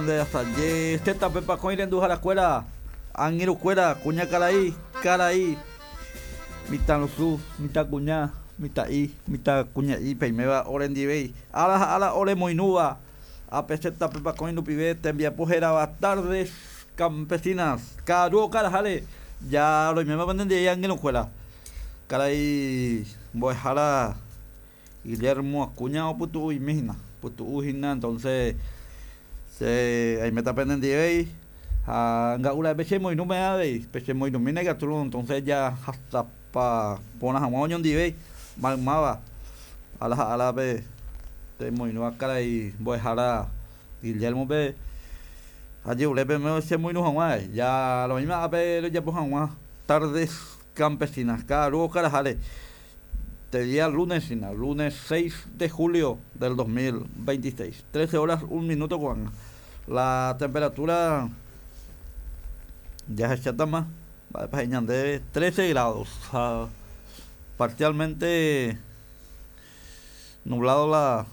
ñande asaje ZP Pakõi renduharakuéra, angirũkuéra, kuñakarai, karai, mitãrusu, mitãkuña, mitã'i, mitãkuña'i peiméva orendivéi, ára ha ára oremoirũva ápe ZP Pakõi rupive tembiapo hérava Tardes Campesinas, ka'aru okaraháre ja roiméma penendive angirũkuéra, karai mbo'ehára. Guillermo Acuña opytu'uimi hína, opytu'u hína entonces che aiméta penendivéi ha nga'u ra'e pechemoirũme avei, pechemoirũmína ikatúrõ entonces jahasapa porã hag̃ua oñondivéi maymáva ára ha árape pemoirũva karai mbo'ehára Guillermo-pe ajerure peẽme chemoirũ hag̃ua avei, ja roĩma ápe rojapo hag̃ua tardes campesinas ka'aru okaraháre. Este día lunes hína, lunes 6 de julio del 2026, 13 horas 1 minuto ko'ág̃a. La temperatura jahechátama mba'épa he'i ñandéve 13 grados ha parcialmente nublado la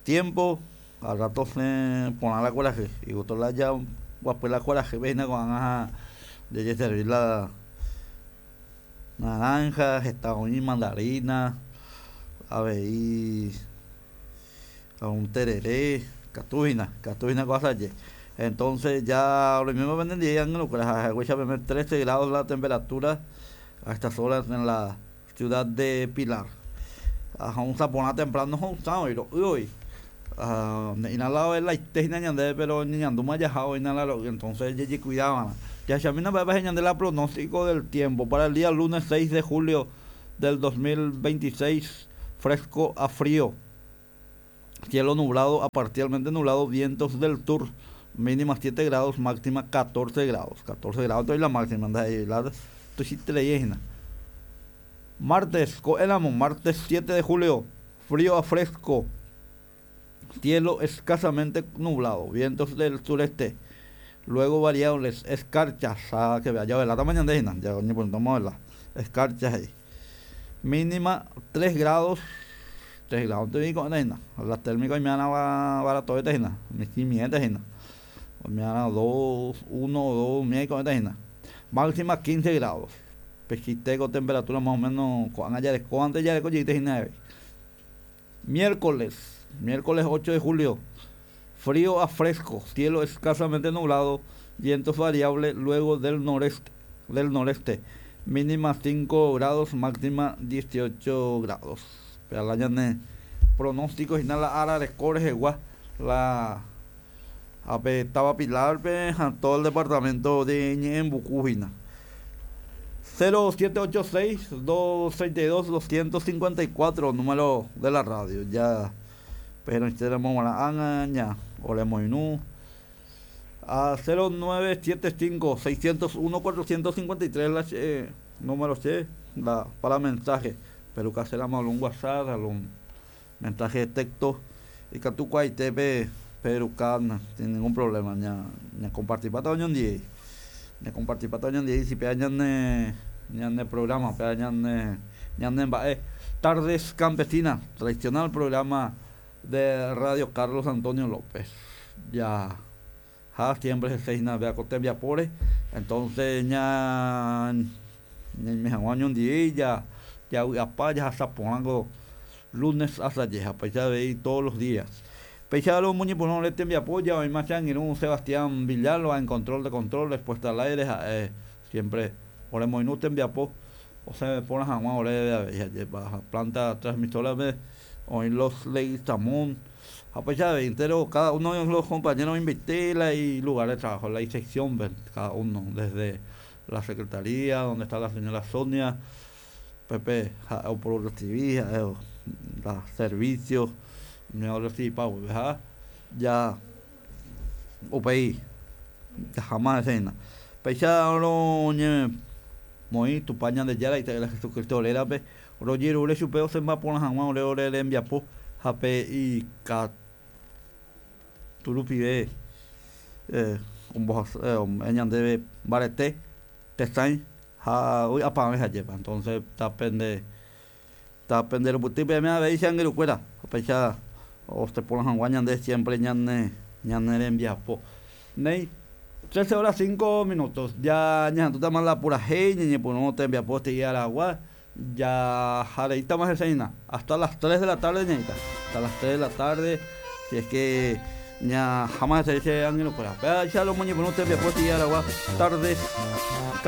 tiempo, al rato osẽ porã la kuarahy, igusto la jaguapy la kuarahýpe hína ko'ág̃a ha jajeservi la naranja, heta oĩ mandarina, avei un terere, ikatu hína, ikatu hína ko asaje. Entonces ya roiméma penendive angirũkuéra ha haguéicha peme trece grados la temperatura a estas horas en la Ciudad de Pilar. Ho'ysã porã temprano ho'ysã oĩ ro'y oĩ. Ne'ĩra la oelaite hína ñandéve pero ñañandúma jaha oĩna la ro'y entonces jejekuida va'erã. Jahechamína mba'épa he'i ñande la pronóstico del tiempo para el día lunes 6 de julio del 2026 fresco a frío. Cielo nublado a parcialmente nublado, vientos del sur, mínima 7 grados, máxima 14 grados. 14 grados la máxima, la Martes, ko'ẽramo, martes 7 de julio, frío a fresco, cielo escasamente nublado, vientos del sureste. Luego variables, escarchas, ah, que vea, ya la mañana ya la escarchas ahí. Mínima 3 grados, 3 grados te digo, la térmica oime'arã baratovéta hína, michĩmiénte hína. Oime'arã 2, 1, 2 umi aiko'ẽta hína. Máxima 15 grados. Pe ko temperatura más o menos ko'ág̃a jarekóvante jareko jeýta hína avei. Miércoles, miércoles 8 de julio, frío a fresco, cielo escasamente nublado, vientos variables luego del noreste, del noreste, mínima 5 grados, máxima 18 grados. Péa la ñane pronóstico hína la ára reko rehegua la ápe táva Pilar-pe ha todo el departamento de Ñe'ẽmbuku hína. 0786 232 254 número de la radio. Ya pehenóichéramo g̃uarã ág̃a ña oremoirũ a 0975 601 453 la che número che la para mensaje. Pero caséramo algún WhatsApp, algún mensaje de texto ikatu kuaaite pe peruka sin ningún problema ña ñakompartipáta oñondive ñakompartipáta oñondive si péva ñane ñane programa péva ñane ñane mba'e Tardes Campesinas tradicional programa de Radio Carlos Antonio López ja ha siempre hese hína péva ko tembiapóre entonces ña ñaime hag̃ua oñondive ja javy'apa jahasa porã ko lunes asaje ha péicha avei todos los días. Péicha romoñepyrũ ore tembiapo ja oĩma che angirũ Sebastián Villalba en control de controles puesta al aire ha'e siempre oremoirũ tembiapo osẽve porã hag̃ua oréve avei ha'épa ha planta transmisora-pe oĩ los Leguizamón ha péicha avei entéro cada uno de los compañeros oĩmbaite la ilugar de trabajo, la isección-pe cada uno desde la secretaría donde está la señora Sonia Pépe ha'e opororresivi, ha'e la servicio umíva orresivipa guive ha ja upéi jaháma hese hína. Péicha roñemoĩ Tupã Ñandejára Ita'ýra Jesucristo rérape rojerure chupe osẽmba porã hag̃ua ore ore rembiapo ha pe ikatu rupive ombohasa ome'ẽ ñandéve mbarete tesãi Ha vy'apavẽ hajépa. Entonces ta pende ta pende rupyty peẽme avei che angirũkuéra. Upéicha Osẽ porã hag̃ua ñande siempre ñane ñane rembiapo. Néi, 13 horas 5 minutos. Ya ñahendútama la purahéi, ñañepyrũ tembiapo aragua. Ya jareítama heseína. Hasta las 3 de la tarde ñaíta. Hasta las 3 de la tarde. Si es que ya jamás se dice angirũkuéra. Ya lo moñepyrũ tembiapo aragua. Tardes.